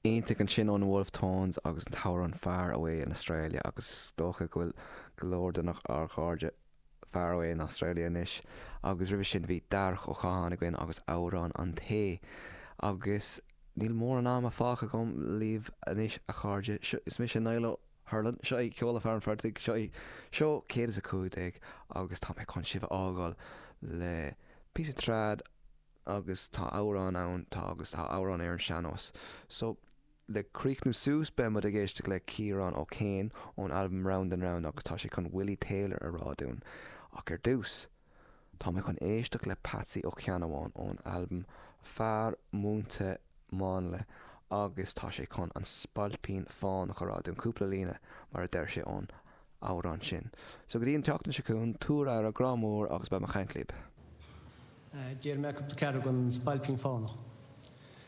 Iontach ansin ó na Wolfe Tones agus an t-amhrán Far Away in Australia agus is dócha go bhfuil go leor de ár gcairde far away in Australia anois agus roimhe sin bhí Darach Ó Catháin againn agus amhrán an tae agus níl mórán ama fágtha agam libh anois a chairde. Is mise Niall Ó hUrlain, seo é Ceol le Fear an Phortaigh, seo é seó 115 agus tá mé chun sibh a fhágáil le píosa trad agus tá amhrán ann, tá agus tá amhrán ar an sean-nós. So, le críochnú suas beidh muid ag éisteacht le Ciarán Ó Céin ón albam Round and Round agus tá sé chun Willie Taylor a rá dúinn. Ach ar dtús, tá mé chun éisteacht le Patsy Ó Ceannabháin ón albam Fear Múinte Máinle agus tá sé chun An Spailpín Fánach a rá dúinn, cúpla líne mar a deir sé ón amhrán sin. So go dtí an tseachtain seo chugainn, tabhair aire, grá mór agus beidh mé ag caint libh. Déarfaidh mé cúpla ceathrú den Spailpín Fánach.